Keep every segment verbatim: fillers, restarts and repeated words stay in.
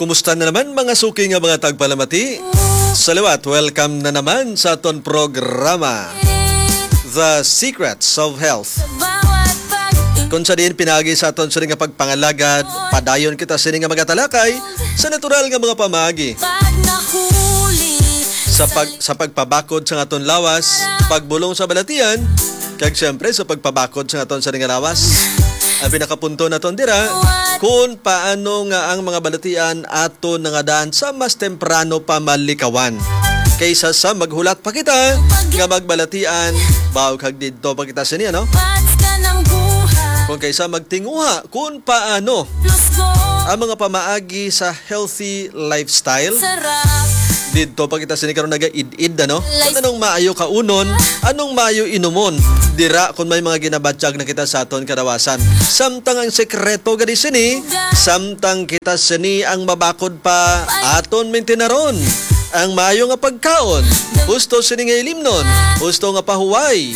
Kumusta na naman, mga suki nga mga tagpalamati? Sa liwat, welcome na naman sa aton programa, The Secrets of Health, kung sa diin pinagi sa aton sini nga pagpangalagad, padayon kita sini nga magatalakay sa natural nga mga pamaagi sa pag-, sa pagpabakod sa aton lawas, pagbulong sa balatian, kag siyempre sa pagpabakod sa aton sini nga lawas. Ang pinakapunto naton dira, kung paano nga ang mga balatian aton nangadaan sa mas temprano pa malikawan kaysa sa maghulat pa kita nga magbalatian, baw kag didto pa kita sini, ano? Kung kaysa magtinguha kung paano ang mga pamaagi sa healthy lifestyle. Didto pa kita sini karon nagaid-id, ano? Kung anong maayo kaunon, anong maayo inumon. Dira kung may mga ginabatyag na kita sa aton kadawasan. Samtang ang sekreto gani sini, samtang kita sini ang mabakod pa, aton mintenaron ang maayo nga pagkaon. Husto sini nga ilimnon, husto nga pahuway.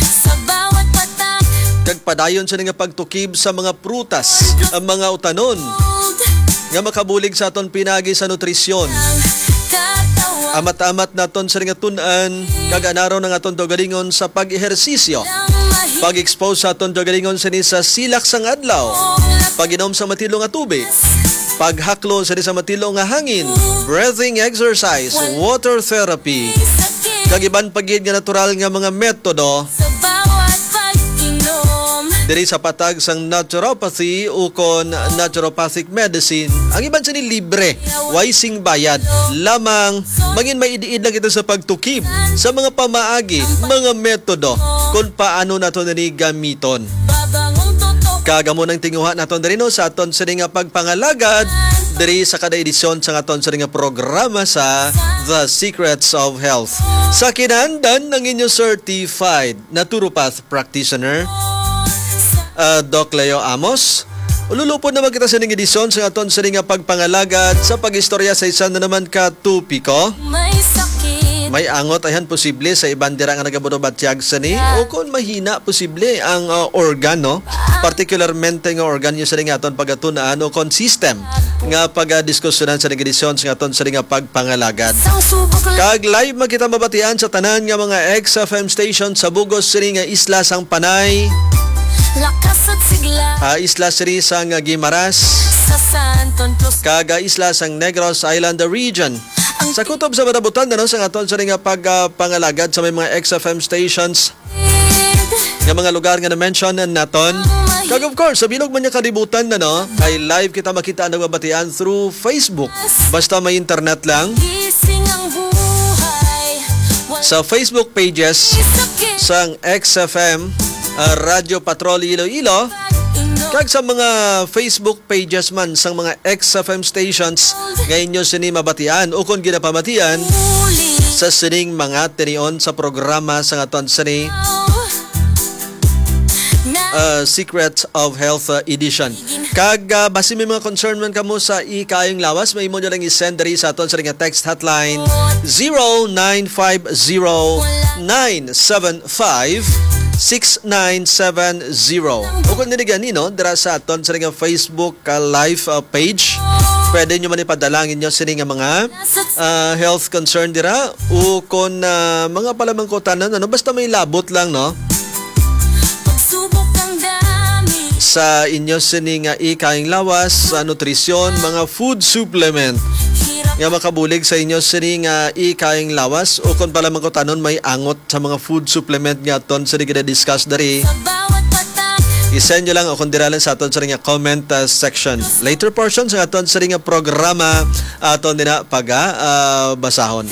Sa bawat patak. Kag padayon sini nga pagtukib sa mga prutas, ang mga utanon nga makabulig sa aton pinagi sa nutrisyon. Amat-amat naton sa nga tun-an, kag anaron ang aton kaugalingon sa pag-ehersisyo. Pag-expose sa aton kaugalingon sini sa silak sang adlaw. Pag-inom sa matilo nga tubig. Paghaklo sini sa matilo nga hangin. Breathing exercise, water therapy, kag iban pa gid nga natural nga mga metodo sa bawat pag-inom. Diri sa patag sang naturopathy ukon naturopathic medicine, ang iban sini libre, way sing bayad, lamang mangin maid-id lang kita sa pagtukib sa mga pamaagi, mga metodo kung paano nato nini gamiton. Kag amo nang tinguha naton diri, no, sa aton sini nga pagpangalagad diri sa kada edisyon sa aton sini nga programa sa The Secrets of Health. Sa kinahanglan ang inyo certified naturopath practitioner, ah, Doc Leo Amos. Ululupon naman kita sa ning edisyon sa aton sini nga pagpangalagad sa pag-istorya sa isa na naman ka topiko. May sakit. May angot ayhan posible sa iban dira nga nagaburubatyag sini, o kon mahina posible ang, ah, organ, no? Particularmente nga organ yung sini nga aton pagatun-an o kon system nga pagadiskusyonan sa ning edisyon sa aton sini nga pagpangalagad. Kag live man kita mabatian sa tanan nga mga X F M station sa bugos sini nga isla sang Panay, lakas at sigla, ah, isla sini sang Guimaras, sa San Anton Plus, kag, ah, isla sang Negros Island Region. Sa kutob sa madabutan na, no, sa aton sini nga pag, ah, pangalagad sa may mga X F M stations nga mga lugar nga na-mention naton. Kag of course, sa bilog man niya kalibutan na, no, kay live kita makita ang nagmabatian through Facebook. Basta may internet lang. Sa Facebook pages sang X F M, ah, Radio Patrol Iloilo, kag sa mga Facebook pages man sang mga X F M stations nga inyo sini mabatian o kon ginapamatian sa sining mga tinion sa programa sa aton sini, uh, Secrets of Health, uh, Edition. Kag, uh, basi may mga concern man kamo sa ikayong lawas, may imo nyo lang i-send diri sa aton sa nga text hotline, zero nine five zero nine seven five six nine seven zero. O kung nini gani, no, dira sa aton sa nga Facebook ka live, uh, page. Pwede nyo man ipadala ang inyo sini nga mga, uh, health concern dira o kung, uh, mga palamangkutanan, ano, basta may labot lang, no? Sa inyo sini nga ikayong lawas, sa nutrisyon, mga food supplement nga makabulig sa inyo sini nga ikayong lawas o kung palamangkutanon may angot sa mga food supplement nga aton sa gina-discuss diri, i-send nyo lang o kung dira lang sa aton sa nga comment, uh, section. Later portion sa aton sa nga programa, aton din na pag, uh, basahon.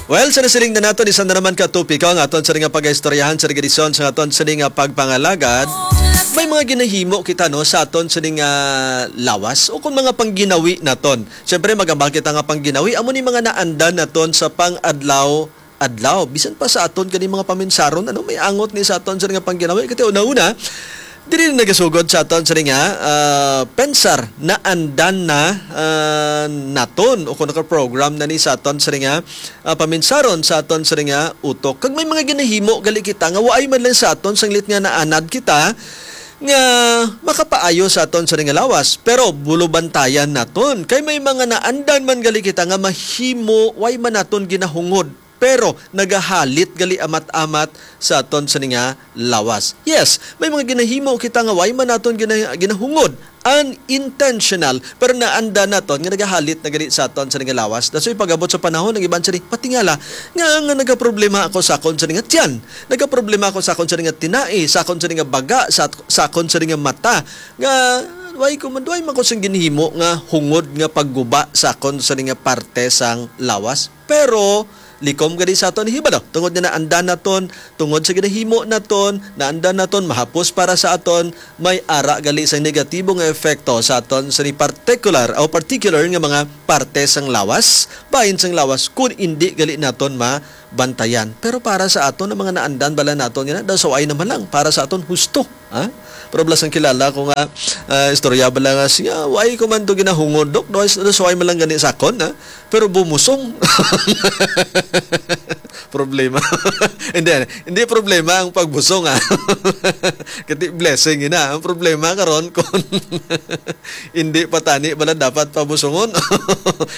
Well, sa nasiling na naton, isa na naman ka topiko ang aton sa nga pag-istoryahan sa edisyon sa aton sa nga pagpangalagad. May mga ginahimo kita, no, sa aton sa nga lawas o kung mga pangginawi naton. Siyempre, magambal kita nga pangginawi, amo ni mga naandan naton sa pang-adlaw-adlaw. Bisan pa sa aton kani mga paminsaron, ano, may angot ni sa aton sa nga pangginawi. Kati una-una, diri na nagasugod sa aton sa nga, ah, pensar, naandan na, ah, naton o kung naka-program na ni sa aton sa nga, ah, paminsaron sa aton sa nga utok. Kag may mga ginahimo gali kita nga waay man lang sa aton sanglit nga naanad kita, nga makapaayo sa aton sa nga lawas, pero bulubantayan naton kay may mga naandan man gali kita nga mahimo way man naton ginahungod, pero nagahalit gali amat-amat sa aton sa nga lawas. Yes, may mga ginahimo kita nga way man naton gina- ginahungod, unintentional, pero naanda naton nga nagahalit na gali sa aton sa nga lawas. That's why pag-abot sa panahon, ang iban sa patingala nga, nga nagaproblema ako sa akon sa nga tiyan, nagaproblema ako sa akon sa nga tinai, sa akon sa nga baga, sa, sa akon sa nga mata, nga way ko man, way man ko sing ginhimo nga hungod nga pagguba sa akon sa nga parte sang lawas. Pero likom gani sa aton hibalo, tungod nga naandan naton, tungod sa ginahimo naton, naandan naton, mahapos para sa aton, may ara gali sang negatibo nga epekto sa aton sa ni particular o particular nga mga parte sang lawas, bahin sang lawas, kun indi gali naton mabantayan. Pero para sa aton, ang mga naandan bala naton nga daw suway naman lang, para sa aton husto. Ha? Pero bala sang kilala ko nga, ah, istorya bala nga siya, way ko man to ginahungod, Dok. Daw suway man lang gani sa akon, ha? Pero bumusong. Problema. Hindi, hindi problema ang pagbusong, ah. Kati blessing ina. Ang problema karon kung hindi pa tani bala dapat pabusungon.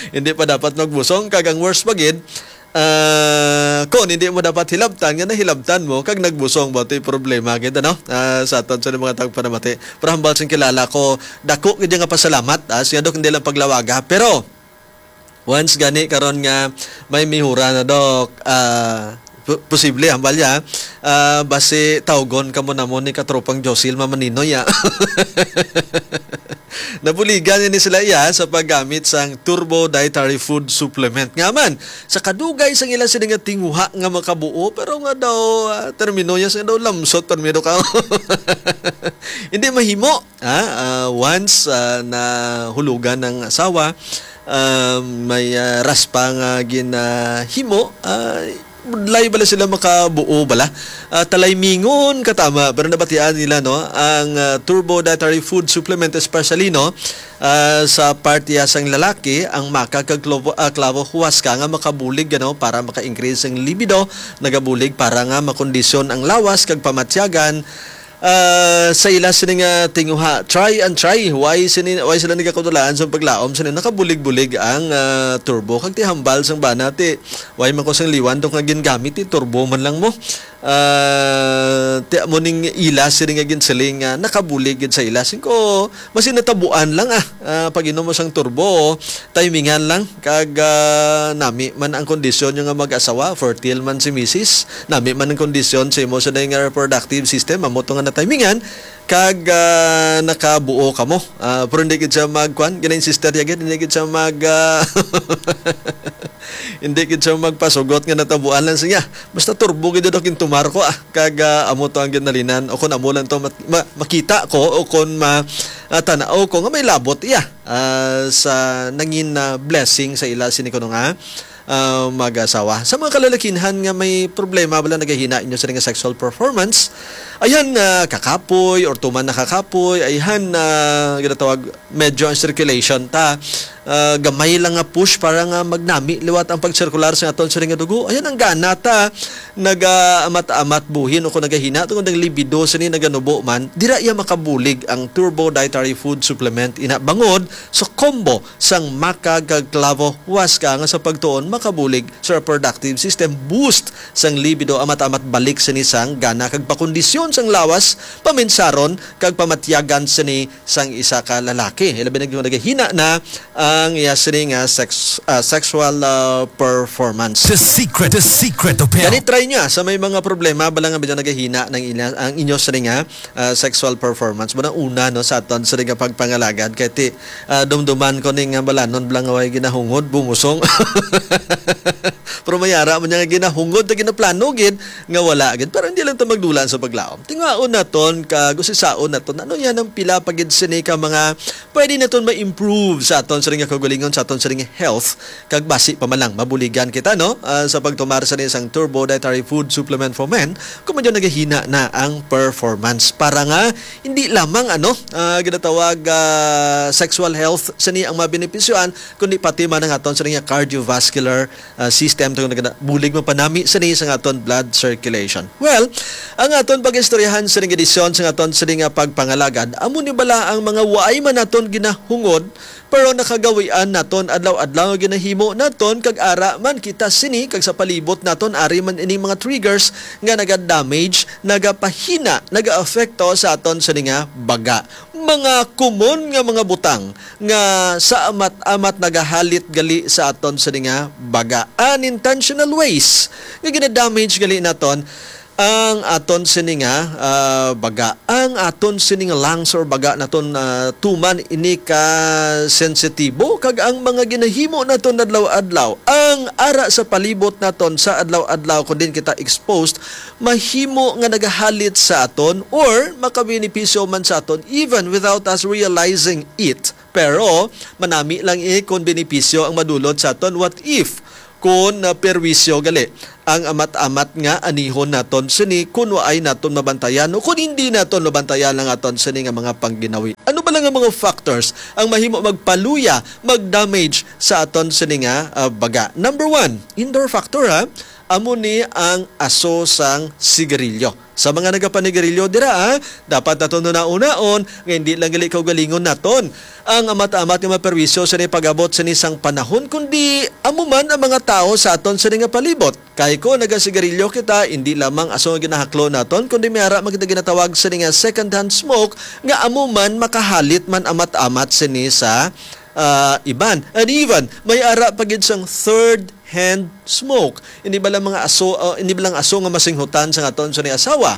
Hindi pa dapat magbusong, kag ang worst pa gid, ah, kung hindi mo dapat hilabtan, nga nahilabtan mo, kag nagbusong ba, ito'y problema gid, ano? Ah, sa aton sa mga tagpanamati. Pero hambal sing kilala ko, dako gid nga pasalamat, ah, siya, Dok, hindi lang paglawaga. Pero, once gani karon nga may mihura na, Dok, ah, po-, posible, hambal ya, ah, basi tawgon kamo namo ni katropang Josil Mamaninoy, ah. Nabuligan ni sila iya sa paggamit sang Turbo Dietary Food Supplement. Nga man, sa kadugay sang ila sini nga tinguha nga makabuo, pero nga daw, ah, termino ya, nga daw lamsot, permiro ka. Hindi mahimo, ha? Ah, once, ah, nahulugan ng asawa, ah, may, ah, raspa nga ginahimo, ah, budlay bala sila makabuo bala. Ah, talaymingon katama, pero nabatian nila, no, ang, ah, Turbo Dietary Food Supplement, especially, no, ah, sa parte sang lalaki, ang maca kag clavo, ah, clavo huasca nga makabulig, ano, para maka-increase ang libido, nagabulig para nga makondisyon ang lawas kag pamatyagan, ah, sa ila sini nga tinguha. Try and try. Why sini, why sila nagakatulaan sa paglaom sini? Nakabulig-bulig ang, ah, turbo. Kag ti hambal sang bana, ti, why man ko sang liwan, Dok, nga gingamit, ti turbo man lang mo. Ah, ti amo ning ila sini nga ginsiling nga nakabulig gid sa ila. Singko, mas natabuan lang, ah. Ah, pag-inom mo sang turbo, timingan lang. Kag, ah, nami man ang kondisyon nyo nga mag-asawa, fertile man si misis, nami man ang kondisyon sa imo sa nga reproductive system, amo to nga natimingan, kag, ah, nakabuo kamo. Ah, pero hindi gid siya magkuan, gina-insistir ya gid, hindi gid siya mag, ah, hindi gid siya magpasugot nga natabuan lang siya. Basta turbo gid, Dok, gintumar ko, ah. Kag, ah, amo to ang ginalinan, o kung amo lang to mat-, ma-, makita ko, o kung ma-, ah, tan-aw ko nga may labot iya, ah, sa nangin na blessing sa ila sini kuno nga, ah, mag-asawa. Sa mga kalalakinhan nga may problema bala nagahina inyo sa nga sexual performance, ayhan, ah, kakapoy or tuman nakakapoy, ayhan, ah, ginatawag medyo ang circulation ta, ah, gamay lang nga push para nga magnami liwat ang pagsirkular sa aton sini nga dugo. Ayan ang gana ta nagaamat-amat buhin o kung nagahina tungod ang libido sini naganubo man, dira iya makabulig ang Turbo Dietary Food Supplement ina bangod sa combo sang maca kag clavo huasca nga sa pagtuon makabulig sa reproductive system, boost sang libido, amat-amat balik sini sang gana kag pakondisyon sang lawas, paminsaron kag pamatyagan sini sang isa ka lalaki. Ilabi na gyud nagahina na ang iya sini nga sex-, ah, sexual, ah, performance. The secret, the secret of health. Gani, try niya sa may mga problema bala nga medyo nagahina ng ila, ang inyo sini nga, ah, sexual performance. Muna una, no, sa aton sini nga pagpangalagad. Kay ti, ah, dumduman ko ni nga balanon bala nga way ginahungod, bumusong. Pero mayara man niya nga ginahungod na ginaplano gid nga wala gid. Pero hindi lang ta magdulan sa paglaom. Tingaon naton, kag usisaon naton, ano yan ang pila pa gid sini ka mga pwede naton ma-improve sa aton sini nga kaugalingon, sa aton sini nga health, kag basi pa man lang mabuligan kita, no? Ah, sa pagtumar sini sang Turbo Dietary food supplement for men, kung medyo nagahina na ang performance. Para nga hindi lamang, ano, ah, ginatawag, ah, sexual health sini ang mabenepisyohan, kundi pati man ang aton sini nga cardiovascular, ah, system, tungod nga bulig mapanami sini sa aton blood circulation. Well, ang aton pag-istoryahan sa edisyon sa aton sini nga pagpangalagad, amo ni bala ang mga waay man naton ginahungod, pero nakagawian naton adlaw-adlaw nga ginahimo naton, kag ara man kita sini, kag sa palibot naton ari man ining mga triggers nga naga-damage, nagapahina, nagaapekto sa aton sini nga baga. Mga common nga mga butang nga sa amat-amat nagahalit gali sa aton sini nga baga. Unintentional ways nga ginadamage gali naton ang aton sini nga, ah, baga. Ang aton sini nga lungs or baga naton, ah, tuman ini ka sensitibo, kag ang mga ginahimo naton adlaw-adlaw, ang ara sa palibot naton sa adlaw-adlaw, kung diin kita exposed, mahimo nga nagahalit sa aton or makabenepisyo man sa aton even without us realizing it. Pero manami lang, eh, kung benepisyo ang madulot sa aton. What if kung, ah, perwisyo gali ang amat-amat nga anihon naton sini kung waay naton mabantayan o kung hindi naton mabantayan ang aton sini nga mga pangginawi? Ano ba lang ang mga factors ang mahimo magpaluya, mag-damage sa aton sini nga, ah, baga? Number one, indoor factor, ha. Amo ni ang aso sang sigarilyo. Sa mga nagapanigarilyo dira, ah, dapat naton hunahunaon nga hindi lang gali kaugalingon naton ang amat-amat nga maperwisyo sa pag-abot sini sang panahon, kundi amo man ang mga tawo sa aton sini nga palibot. Kay kung nagasigarilyo kita, hindi lamang aso nga ginahaklo naton, kundi may ara man kita ginatawag sini nga second-hand smoke, nga amo man makahalit man amat-amat sini sa, ah, iban. And even, may ara pa gid sang third-hand smoke. Hindi ba lang mga aso, ah, hindi ba lang aso nga masinghutan sa aton sini asawa?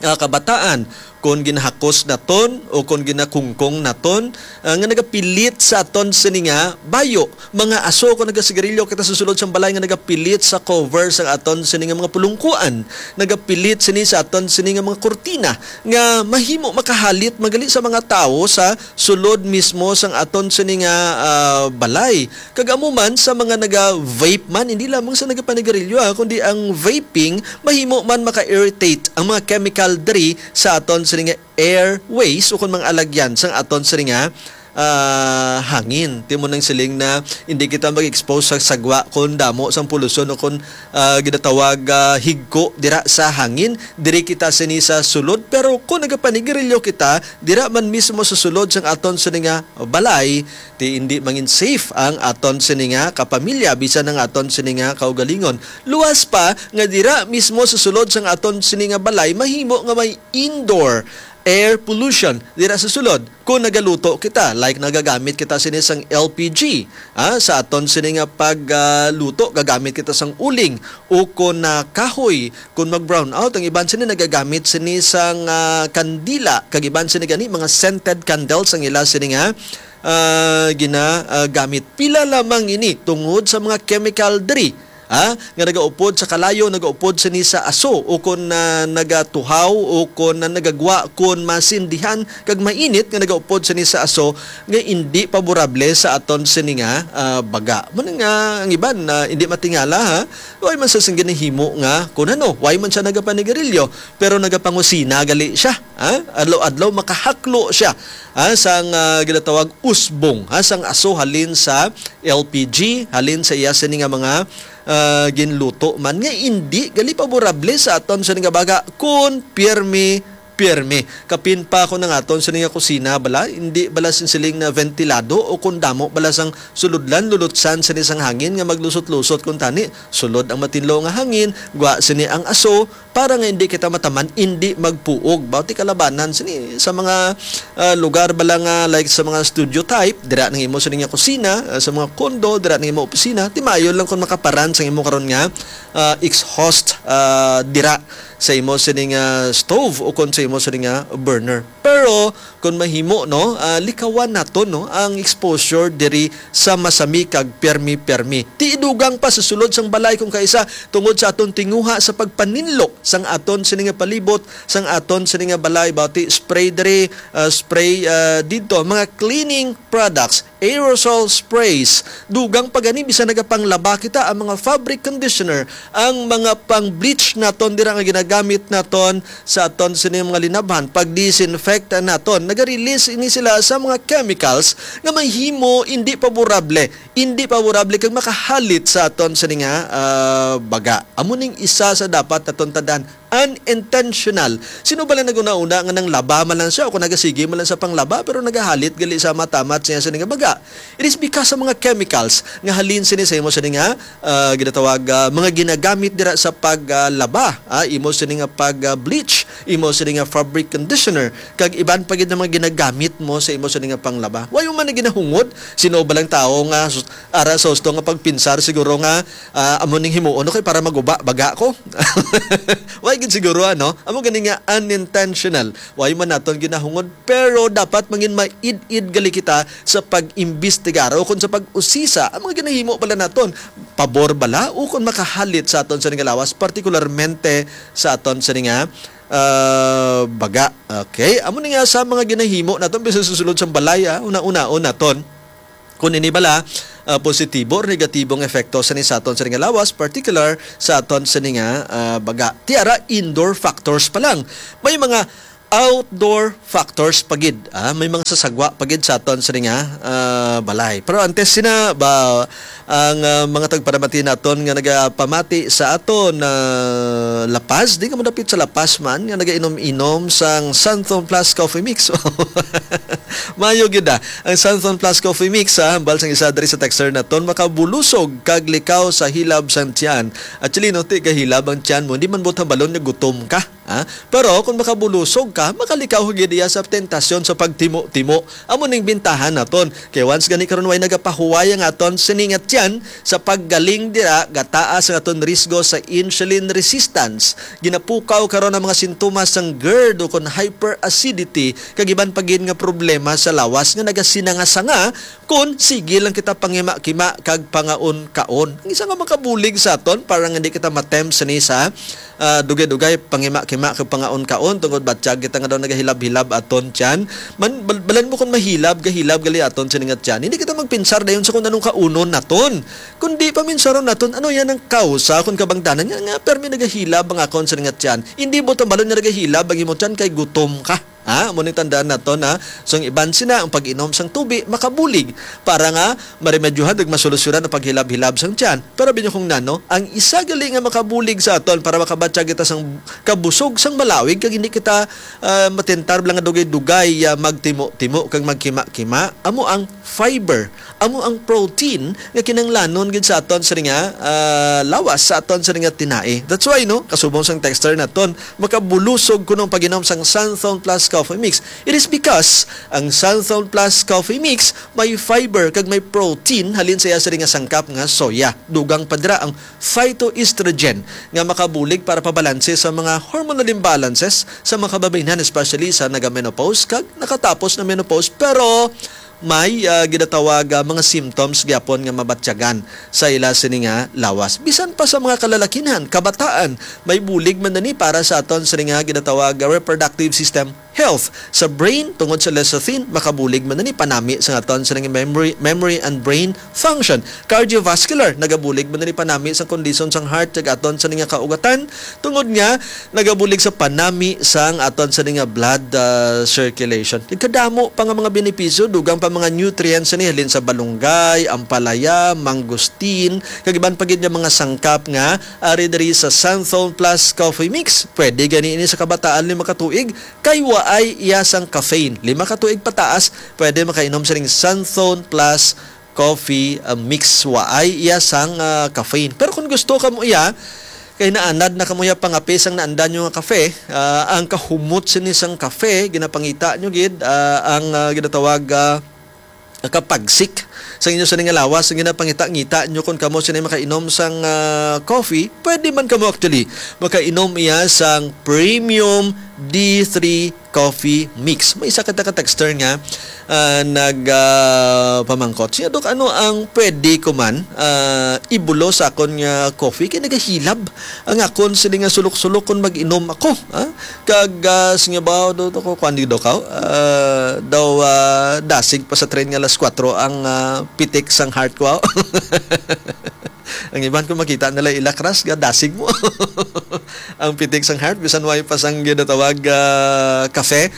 Ah, kabataan, kung ginahakos naton o kung ginakungkong naton, ah, nga nagapilit sa aton sini nga bayo, mga aso, kung nagasigarilyo kita sa sulod sang balay nga nagapilit sa cover sa aton sini nga mga pulungkuan, nagapilit sini sa aton sini nga mga kurtina, nga mahimo makahalit man gali sa mga tawo sa sulod mismo sang aton sini nga, ah, balay. Kag amo man sa mga naga-vape man, hindi lamang sa nagapanigarilyo, ah, kundi ang vaping mahimo man maka-irritate ang mga chemical diri sa aton sini nga airways ukon mga alagyan sang aton sini nga, ah, hangin. Timo nang siling na hindi kita mag-expose sa sagwa kon damo sang polusyon o kon, ah, ginatawag, ah, higko dira sa hangin. Diri kita sini sa sulod, pero kung nagapanigarilyo kita dira man mismo sa sulod sang aton sini nga balay, ti hindi mangin safe ang aton sini nga kapamilya, bisan ang aton sini nga kaugalingon. Luwas pa nga dira mismo sa sulod sang aton sini nga balay, mahimo nga may indoor air pollution dira sa sulod. Kung nagaluto kita, like nagagamit kita sini sang L P G, ah, sa aton sini nga pag, ah, luto, gagamit kita sang uling o kon, ah, kahoy. Kung mag-brown out, ang iban sini nagagamit sini sang, ah, kandila, kag iban sini gani mga scented candles ang ila sini nga, ah, gina, ah, gamit. Pila lamang ini tungod sa mga chemical diri, ha, nga nagaupod sa kalayo, nagaupod sini sa aso, o kon, ah, nagatuhaw, o kon, ah, nagagwa kon masindihan kag mainit nga nagaupod sini sa aso, nga indi paborable sa aton sini nga, ah, baga. Mao na nga ang iban, ah, indi matingala, ha. Way man sa sing ginahimo nga kun ano, way man siya nagapanigarilyo, pero nagapangusina gali siya, ha. Adlaw-adlaw makahaklo siya, ha, sang, ah, ginatawag usbong, ha, sang aso halin sa L P G, halin sa iya sini nga mga, ah, ginluto man nga indi gali paborable sa aton sini nga baga kun pirmi, pirmi. Kapin pa kon ang aton sini nga kusina bala, indi bala sin siling na ventilado o kon damo bala sang sulodlan, lulutsan sini sang hangin nga maglusot-lusot kuntani. Sulod ang matinlo nga hangin, gwa sini ang aso, para nga indi kita mataman, indi magpuog. Bawti kalabanan sini sa mga, ah, lugar bala nga, like, sa mga studio type, dira nang imo sini nga kusina, ah, sa mga condo, dira nang imo opisina, ti maayo lang kung makaparan sang imo karon nga, ah, exhaust, ah, dira sa imo sini nga stove o kon sa imo sini nga burner. Pero kung mahimo, no, ah, likawan naton, no, ang exposure diri sa masami kag permi-permi. Ti idugang pa sa sulod sang balay kung kaisa tungod sa aton tinguha sa pagpaninlo sang aton sini nga palibot, sang aton sini nga balay, bati spray diri, ah, spray, ah, didto, mga cleaning products, aerosol sprays. Dugang pa gani, bisan nagapanglaba kita, ang mga fabric conditioner, ang mga pang-bleach naton dira nga ginagamit naton sa aton sini mga linabhan, pag-disinfect naton, naga-release ini sila sa mga chemicals nga mahimo hindi paborable, hindi paborable kag makahalit sa aton sini nga, ah, baga. Amo ning isa sa dapat naton tandaan, unintentional. Sino ba lang nag-una-una nga nang laba man lang siya o kung nagasige man lang sa panglaba pero nagahalit gali sa matamat siya sa nga baga? It is because sa mga chemicals nga halin sini sa imo sini nga, ah, ginatawag, ah, mga ginagamit dira sa pag, ah, laba, ah, imo sini nga pag, ah, bleach, imo sini nga fabric conditioner, kag iban pa gid nga mga ginagamit mo sa imo sini nga panglaba. Wa man na ginahungod, sino ba lang tawo nga sus-, ara sa husto nga pagpinsar siguro nga, ah, amo ning himuon, okay, para maguba baga ko. Wa gid siguro, ano? Amo gani nga unintentional. Wa man naton ginahungod, pero dapat mangin maid-id gali kita sa pag-imbestigar o kung sa pag-usisa ang mga ginahimo pala naton, pabor bala o kung makahalit sa aton sa nga lawas, partikularmente sa aton sa nga, ah, baga. Okay? Amo ni nga sa mga ginahimo naton, bisan sa sulod sa balay, ah, una-unaon naton kung ini bala, ah, positibo or negatibong epekto sa ni sa aton sa nga lawas, particular sa aton sa nga, ah, baga. Ti ara, indoor factors pa lang. May mga outdoor factors pa gid, ah, may mga sasagwa pa gid sa aton sa nga, ah, balay. Pero antes sina ba ang, ah, mga tagparamati naton nga nagapamati sa aton, ah, La Paz, di ka madapit sa La Paz man nga nagainom-inom sang Santhon Plus Coffee Mix. Mayo gid, ah. Ang Santhon Plus Coffee Mix, ah, hambal sang isa diri sa texter naton, makabulusog kag likaw sa hilab sang tiyan. Actually, no, ti gahilab ang tiyan mo, hindi man buot hambalon nga gutom ka. Ha? Pero kung makabulusog ka, makalikaw ka gid iya sa tentasyon sa pagtimo-timo. Amo ning bintahan naton. Kay once gani karon way nagapahuway ang aton sini nga tiyan sa paggaling dira, gataas ang aton risgo sa insulin resistance. Ginapukaw karon ang mga sintomas sang gerd o kon hyperacidity kag iban pa gid nga problema sa lawas nga nagasinanga-sanga kon sige lang kita pangima-kima kag pangaon-kaon. Ang isa nga makabulig sa aton para nga hindi kita matempt sini sa ah, dugay-dugay, pangima-kima kag pangaon-kaon tungod batyag kita nga daw nagahilab-hilab aton tiyan. Man, bal-, balan mo kung mahilab, gahilab gali aton sini nga tiyan. Hindi kita magpinsar dayon sa kung anong kaunon naton. Kundi paminsaron naton, ano yan ang kausa kung kabangdanan nga, nga permi nagahilab ang akon sini nga tiyan. Hindi mo tambalon nga nagahilab ang imo tiyan kay gutom ka. Ha? Amo ni tandaan naton, ha? So, ang iban sina, ang pag-inom sang tubi, makabulig para nga maremedyohan ug masolusyonan ang paghilab-hilab sang tiyan. Pero abi niyo kung nano, ang isa gali nga makabulig sa aton para makabatyag kita sang kabusog sang malawig kag hindi kita, ah, matentar lang nga dugay-dugay, ah, magtimo-timo kag magkima-kima, amo ang fiber, amo ang protein nga kinahanglanon gid sa aton sa nga, ah, lawas, sa aton sa nga tinai. That's why, no, kasubong sang texter naton, makabulusog kuno ang pag-inom sang Santhon Plus Coffee Mix. It is because ang Santhon Plus Coffee Mix may fiber kag may protein halin sa iya sini nga sangkap nga soya. Dugang pa dira ang phytoestrogen nga makabulig para pabalanse sa mga hormonal imbalances sa mga kababaynhan, especially sa naga-menopause kag nakatapos na menopause, pero may, ah, ginatawag, ah, mga symptoms gyapon nga mabatyagan sa ila sini nga lawas. Bisan pa sa mga kalalakinhan, kabataan, may bulig man na ni para sa aton sini nga ginatawag, ah, reproductive system health. Sa brain, tungod sa lecithin, makabulig man na ni panami sa aton sini nga memory, memory and brain function. Cardiovascular, nagabulig man na ni panami sa kondisyon sang heart kag aton sini nga kaugatan, tungod nga nagabulig sa panami sang aton sini nga blood, ah, circulation. Nagkadamo pa nga mga benepisyo, dugang pa mga nutrients ni halin sa balunggay, ampalaya, mangosteen, kag iban pa gid nga mga sangkap nga ari diri sa Santhon Plus Coffee Mix. Pwede gani ini sa kabataan lima ka tuig kay waay iya sang caffeine. Lima ka tuig pataas, pwede makainom sining Santhon Plus Coffee, ah, Mix. Waay iya sang, ah, caffeine. Pero kung gusto ka mo iya, kay naanad na kamo iya pangape sang naandan nyo nga kafe, ah, ang kahumot sini sang kafe, ginapangita nyo gid, ah, ang, ah, ginatawag, ah, kapagsik sa inyo sini nga lawas, ang ginapangita-ngita nyo kung kamo sini makainom sang, ah, coffee, pwede man kamo actually makainom iya sang premium D three Coffee Mix. May isa ka taga-texter nga, ah, nag, ah, pamangkot. Siya, "Dok, ano ang pwede ko man, ah, ibulo sa akon nga coffee? Kay nagahilab ang akon sini nga sulok-sulok kon mag-inom ako, ha? Kag, ah, sige ba, do, do ko, kuwan di daw ka, ah, daw, ah, dasig pa sa train nga alas kuwatro ang, ah, pitik sang heart ko." Ang iban ko makita nila ilakras, ga dasig mo. Ang pitik sang heart, bisan way pa sang ginatawag, ah, kafe.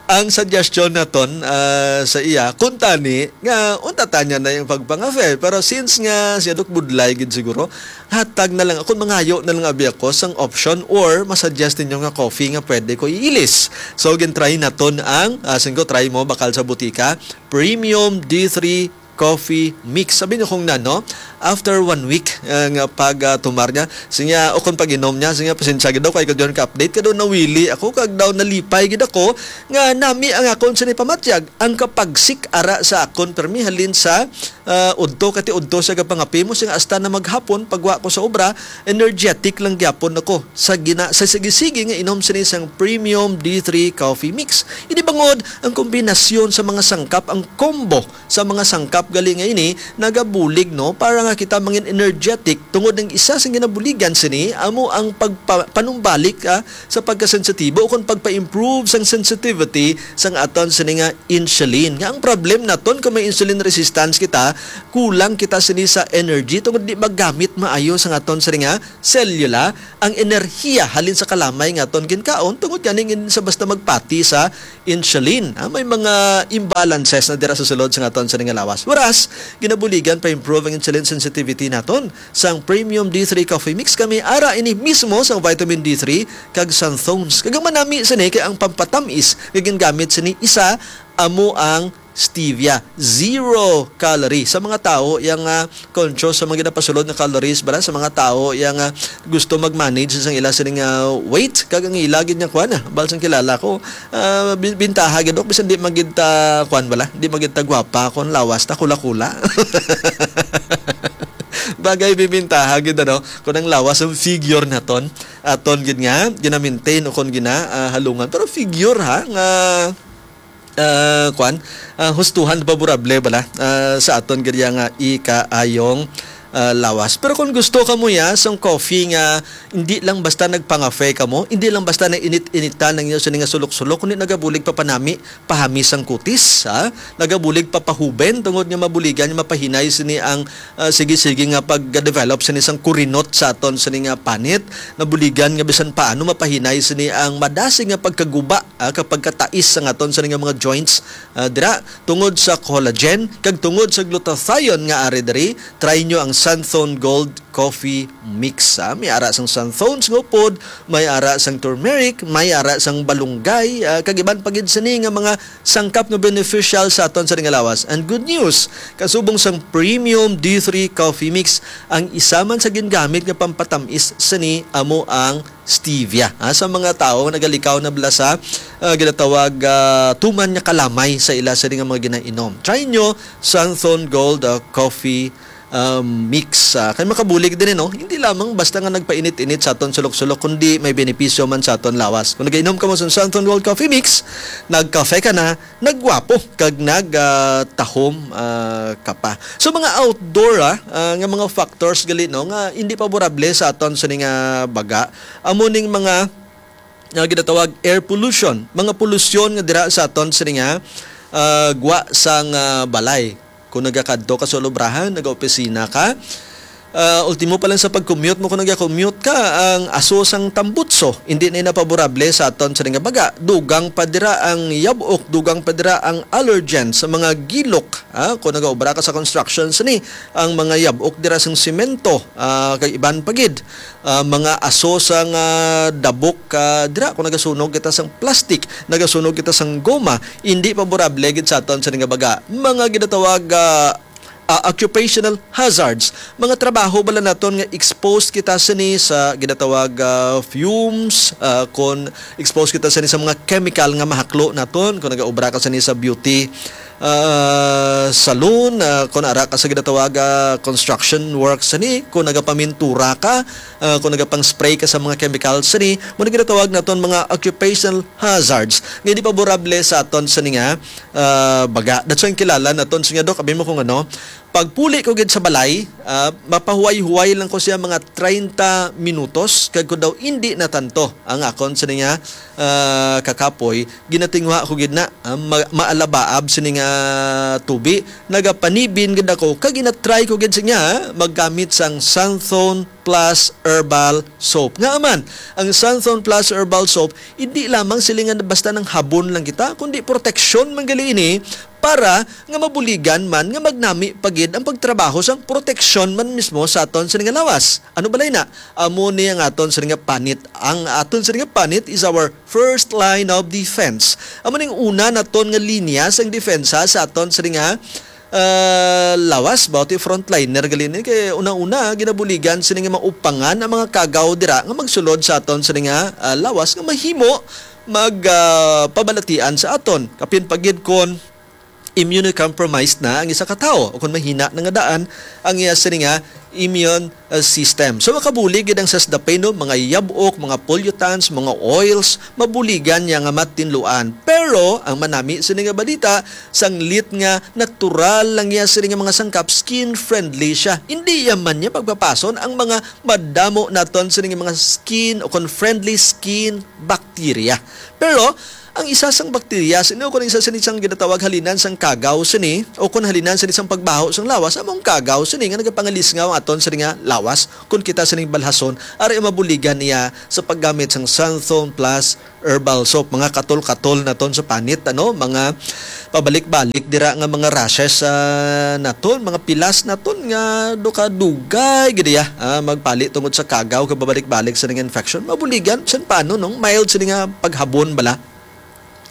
Ang suggestion naton, ah, sa iya, kung tani, nga unta tanya na yung pagpangafe. Pero since nga siya dok budlay gid siguro, hatag na lang ako, mangayo na lang abi ako sang option or masuggest ninyo nga coffee nga pwede ko iilis. So, gin-try naton ang, ah, singko, try mo, bakal sa butika, Premium D three Coffee Mix. Sabi niyo kung nano, after one week, ah, nga pag, ah, tumar niya, siya, o kung pag-inom niya, siya, "Pasensya gid daw, kay ko diyon ka-update, kado nawili ako, kag daw nalipay gid ako, nga nami ang akon sini pamatyag, ang kapagsik ara sa akon, permi halin sa, ah, udto, kati udto sa gapangapi mo, siya, hasta na maghapon, pagwa ko sa obra, energetic lang gyapon ako sa gina-, sa sige-sige nga inom sini sang Premium D three Coffee Mix." Ini bangod ang kombinasyon sa mga sangkap, ang combo sa mga sangkap gali nga ini nagabulig, no, para nga kita mangin energetic, tungod ang isa sa ginabuligan sini amo ang pagpa-, panumbalik, ah, sa pagkasensitibo o kung pagpa-improve sang sensitivity sang aton sini nga insulin. Nga ang problem naton kung may insulin resistance kita, kulang kita sini sa energy tungod di magamit maayo sang aton sini nga selula ang enerhiya halin sa kalamay nga aton ginkaon, tungod gani sa basta magpati sa insulin. Ah, may mga imbalances na dira sa sulod sa aton sini nga lawas. Whereas, ginabuligan pa improve ang insulin sensitivity naton. Sang Premium D three Coffee Mix kami, ara ini mismo sang vitamin D three kag xanthones. Kag ang manami sini kay ang pampatamis nga gingamit sini isa amo ang stevia. Zero calorie. Sa mga tawo yang, ah, conscious sa mga ginapasulod nga calories, bala sa mga tawo yang, ah, gusto mag-manage sa ila sining, ah, weight, kag ang ila gid nga kuan, ah, bal sang kilala ko, ah, bi-, bintaha gid, dok, bisan di magid ta kuan bala, di magid ta gwapa, kon lawas ta kula-kula. Bagay bibintaha gid, ano, kon ang lawas ang figure naton, aton gid nga gina-maintain o kon gina, ah, halungan. Pero figure, ha, nga, ah, kuan, ah, hustuhan, favorable bala, ah, sa aton gid nga ikaayong, ah, lawas. Pero kung gusto kamo ya sang coffee nga hindi lang basta nagpangafe kamo, hindi lang basta na init-initan ang inyo sini nga sulok-sulok, kundi nagabulig pa panami, pahami sang kutis, ha? Nagabulig pa pahuben tungod nga mabuligan nga mapahinay sini ang, ah, sige-sige nga pag-develop sini sang kurinot sa aton sini nga panit. Nabuligan nga bisan paano mapahinay sini ang madasig nga pagkaguba, ah, kag pagkatais sang aton sini nga mga joints, ah, dira tungod sa collagen kag tungod sa glutathione nga ari diri. Try nyo ang Xanthone Gold Coffee Mix, ah. May ara sang xanthones nga upod, may ara sang turmeric, may ara sang balunggay, ah, kag iban pa gid sini nga mga sangkap nga beneficial sa aton sa lawas. And good news, kasubong sang Premium D three Coffee Mix, ang isa man sa gingamit nga pampatamis sini amo ang stevia. Ah, sa mga tawo nga nagalikaw na bala sa, ah, ginatawag, ah, tuman nga kalamay sa ila sini nga mga ginainom, try nyo Xanthone Gold, ah, Coffee, um, Mix. Ah, kay makabulig din, no? Hindi lamang basta nga nagpainit-init sa aton sulok-sulok, kundi may benepisyo man sa aton lawas. Kung nagainom ka mo sa Xanthone Gold Coffee Mix, nagkafe ka na, nagwapo, kag nag, ah, tahom, ah, ka pa. So, mga outdoor, ah, ah, nga mga factors gali, no, nga hindi favorable sa aton sa nga baga, amo ning mga nga ginatawag air pollution, mga polusyon nga dira sa aton sini nga, ah, gwa sang, ah, balay. Kung nagakadto ka sa ulubrahan, nagaopisina ka, ah, ultimo pa lang sa pag-commute mo, kung nagakommute ka, ang aso sang tambutso, hindi na ina paborable sa aton sini nga baga. Dugang pa dira ang yabok, dugang pa dira ang allergen sa mga gilok. Ah, kung nagaobra ka sa construction sini, ang mga yabok dira sang semento, ah, kag iban pa gid, ah, mga aso sang, ah, dabok, ah, dira kung nagasunog kita sang plastic, nagasunog kita sang goma, hindi paborable gid sa aton sini nga baga. Mga ginatawag, ah, ah, occupational hazards, mga trabaho bala naton nga exposed kita sini sa ginatawag, ah, fumes, ah, kon exposed kita sini sa mga chemical nga mahaklo naton, kung nagaobra ka sini sa beauty, ah, salon, ah, kung ara ka sa ginatawag, ah, construction work sini, kung nagapamintura ka, Ah, kung nagapang-spray ka sa mga chemical, sini mo na ginatawag naton mga occupational hazards nga hindi paborable sa aton sini nga, ah, baga. That's why ang kilala naton sini nga, Dok, abi mo kung ano, pagpuli ko gid sa balay, ah, mapahuway-huway lang ko siya mga treinta minutos, kag kung daw hindi natanto ang akon sini nga, ah, kakapoy, ginatinguha ko gid na, ah, ma-, maalabaab sini nga tubi. Nagapanibin gid ako, kag ginatry ko gid siya maggamit sang Santhone Plus Herbal Soap. Nga man, ang Santhone Plus Herbal Soap, hindi lamang sila nga basta nang habon lang kita, kundi proteksyon man gali ini para nga mabuligan man nga magnami pa gid ang pagtrabaho sang proteksyon man mismo sa aton sini nga lawas. Ano balay na? Amo ni ang aton sini nga panit. Ang aton sini nga panit is our first line of defense. Amo ning una naton nga linya sang depensa sa aton sini nga, ah, lawas, ba, ti frontliner gali ni, kay una-una ginabuligan sini nga maupangan ang mga kagaw dira nga magsulod sa aton sini nga, ah, lawas nga mahimo mag, ah, pabalatian sa aton. Kapin pa gid kon immunocompromised na ang isa ka tawo o kon mahina na nga daan ang iya sini nga immune, uh, system. So, makabulig gid ang sasdapeno, mga yab-ok, mga pollutants, mga oils, mabuligan niya nga matinluan. Pero ang manami sini nga balita, sanglit nga natural lang niya sini nga mga sangkap, skin friendly siya. Hindi ya man niya pagpapason ang mga madamo naton sini nga mga skin o kon friendly skin bacteria. Pero ang isa sang bakterya sini, o kon isa sini sang ginatawag halinan sang kagaw sini, o kon halinan sini sang pagbaho sang lawas, among kagaw sini nga nagapangalisngaw aton sini nga lawas, kon kita sini balhason, ari ang mabuligan niya sa paggamit sang Santhone Plus Herbal Soap. Mga katol-katol naton sa panit, ano, mga pabalik-balik dira nga mga rashes, ah, naton, mga pilas naton nga duka dugay gid ya, ah, magpali tungod sa kagaw kag pabalik-balik sa nga infection. Mabuligan, san paano, no? Mild sini nga paghabon bala.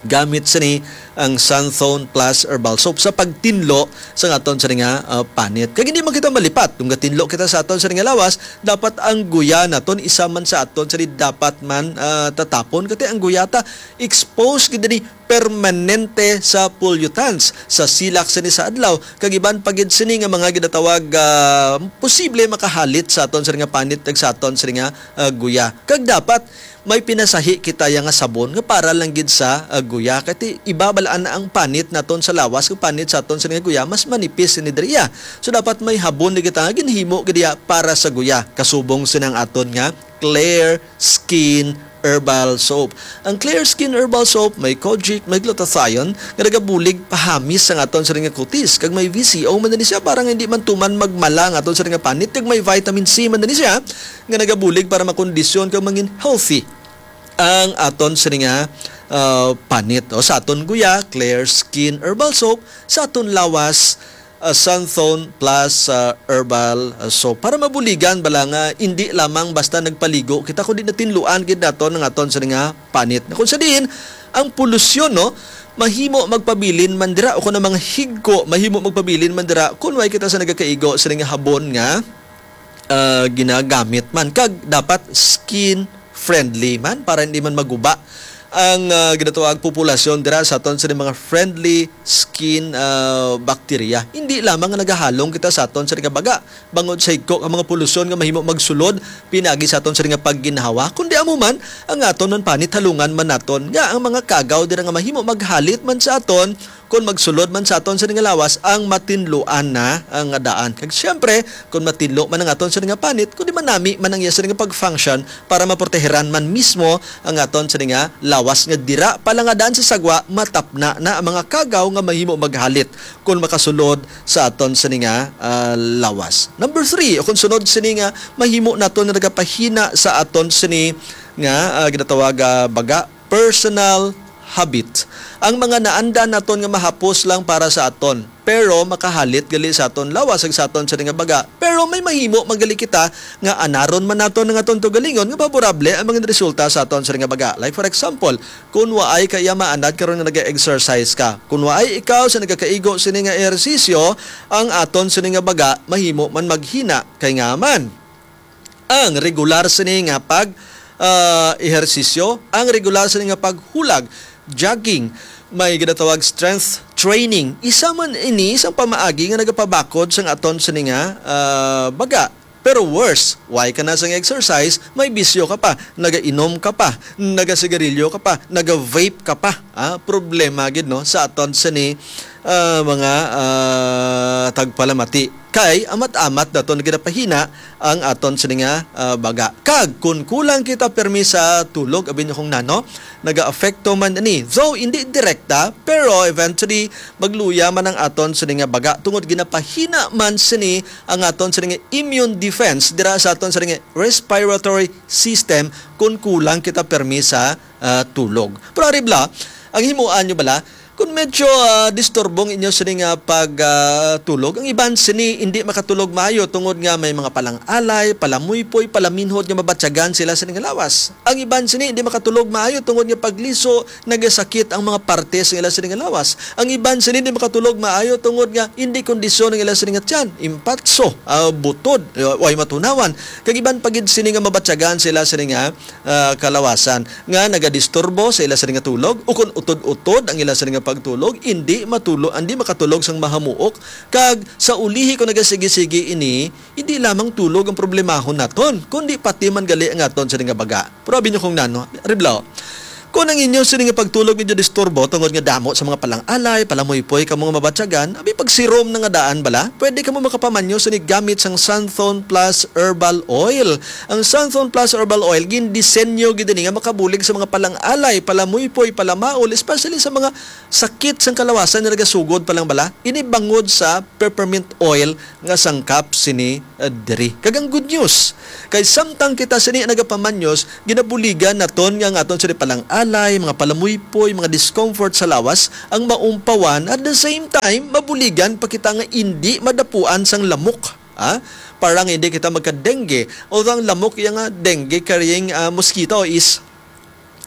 Gamit sini ang Santhone Plus Herbal Soap sa pagtinlo sa aton sini nga, ah, panit. Kag hindi man kita malipat. Kung gatinlo kita sa aton sini nga lawas, dapat ang guya naton isa man sa aton sini dapat man, ah, tatapon. Kati ang guya ta, exposed gid ni permanente sa pollutants, sa silak sini sa adlaw, kag iban pa gid sini nga mga ginatawag, ah, posible makahalit sa aton sini nga panit kag sa aton sini nga, ah, guya. Kag dapat may pinasahi kita ya nga sabon nga para lang gid sa, ah, guya. Kay ti-, iba balaan na ang panit naton sa lawas, ang panit sa aton sa nga guya, mas manipis ni diriya. So, dapat may habon ni kita nga ginhimo gid iya para sa guya. Kasubong sinang aton nga Clear Skin Herbal Soap. Ang Clear Skin Herbal Soap may kojic, may glutathione nga nagabulig pahamis sa aton sa nga kutis, kag may V C O man ni siya para nga hindi man tuman magmala ang aton sa nga panit, kag may vitamin C man ni siya nga nagabulig para makondisyon kag mangin healthy ang aton sini nga, ah, panit. O, sa aton guya, Clear Skin Herbal Soap, sa aton lawas, ah, Santhone Plus, ah, Herbal, ah, Soap. Para mabuligan bala nga hindi lamang basta nagpaligo kita, kundi natinluan gid naton ang aton sini nga panit. Na kung sa diin, ang polusyon, no, mahimo magpabilin man dira, o kung ang mga higko, mahimo magpabilin man dira, kung way kita sa nagakaigo sini nga habon nga, ah, ginagamit man. Kag dapat skin friendly man para hindi man maguba ang, ah, ginatawag populasyon dira sa aton sa mga friendly skin, ah, bacteria. Hindi lamang nga nagahalong kita sa aton sa nga baga bangod sa higko nga mga polusyon nga mahimo magsulod pinagi sa aton sa nga pagginhawa, kundi amo man ang aton man panit, halungan man naton nga ang mga kagaw dira nga mahimo maghalit man sa aton kon magsulod man sa aton sini nga lawas ang matinluan na, ah, nga daan. Kag siyempre, kon matinlo man ang aton sini nga panit, kundi manami man ang iya sini nga pag-function para maproteheran man mismo ang aton sini nga lawas, nga dira pa lang nga daan sa sagwa, matapna na ang mga kagaw nga mahimo maghalit kon makasulod sa aton sini nga, ah, lawas. Number three, o kung sunod sini nga mahimo naton nga nagapahina sa aton sini nga, ah, ginatawag, ah, baga, personal habit. Ang mga naanda naton nga mahapos lang para sa aton, pero makahalit gali sa aton lawas kag sa aton sini nga baga. Pero may mahimo man gali kita nga anaron man naton nga aton tugalingon nga favorable ang mga resulta sa aton sini nga baga. Like for example, kun waay ka iya maanad karon nga nag-exercise ka, kun waay ikaw sa nagakaigo sini nga ehersisyo, ang aton sini nga baga mahimo man maghina. Kay nga man, ang regular sini nga pag, ah, ehersisyo, ang regular sini nga paghulag, jogging, may ginatawag strength training. Isa man ini sang pamaagi nga nagapabakod sang aton sini nga, ah, baga. Pero worse, why ka na sang exercise, may bisyo ka pa, nagainom ka pa, nagasigarilyo ka pa, naga-vape ka pa. Ah, problema gid, no, sa aton sini, ah, mga, ah, tagpalamati. Kay amat-amat naton ginapahina ang aton sini nga, ah, baga. Kag kun kulang kita permi sa tulog, abi niyo kung nano, nagaapekto man ini. Though hindi direkta, pero eventually magluya man ang aton sini nga baga tungod ginapahina man sini ang aton sini nga immune defense dira sa aton sini nga respiratory system kun kulang kita permi sa, ah, tulog. Pero ari bala, ang himuan nyo bala, kung medyo, ah, disturbo ang inyo sini nga pag, ah, tulog, ang iban sini hindi makatulog maayo tungod nga may mga palang-alay, palamuypoy, palaminhod nga mabatyagan sila sini nga lawas. Ang iban sini hindi makatulog maayo tungod nga pagliso nagasakit ang mga parte sa ila sini nga lawas. Ang iban sini hindi makatulog maayo tungod nga hindi kondisyon ang ila sini nga tiyan, impatso, ah, butod, ah, way matunawan. Kag iban pa gid sini nga mabatyagan sa ila sini nga, ah, kalawasan nga nagadisturbo sa ila sini nga tulog, ukon utod-utod ang ila sini nga pagtulog, hindi matulo, hindi makatulog sang mahamuok, kag sa ulihi kung nagasigi-sigi ini, hindi lamang tulog ang problemahon naton, kundi pati man gali ang aton sini nga baga. Pero abi niyo kung nano, Riblo, kung ang inyo sini nga pagtulog medyo disturbo tungod nga damo sa mga palang-alay, palamuypoy kamo nga mabatyagan, abi pagsirom na nga daan bala, pwede kamo makapamanyo sini gamit sang Santhon Plus Herbal Oil. Ang Santhon Plus Herbal Oil, gindisenyo gid ini nga makabulig sa mga palang-alay, palamuypoy, palamaol, especially sa mga sakit sang kalawasan nga nagasugod pa lang bala. Ini bangod sa peppermint oil nga sangkap sini, uh, diri. Kag ang good news, kay samtang kita sini nagapamanyos, ginabuligan naton nga ang aton sini palang-alay, mga palamuypoy, mga discomfort sa lawas ang maumpawan. At the same time, mabuligan pa kita nga indi madapuan sang lamok. Ha? Para nga hindi kita magka-dengue. Although ang lamok iya nga dengue carrying, ah, mosquito is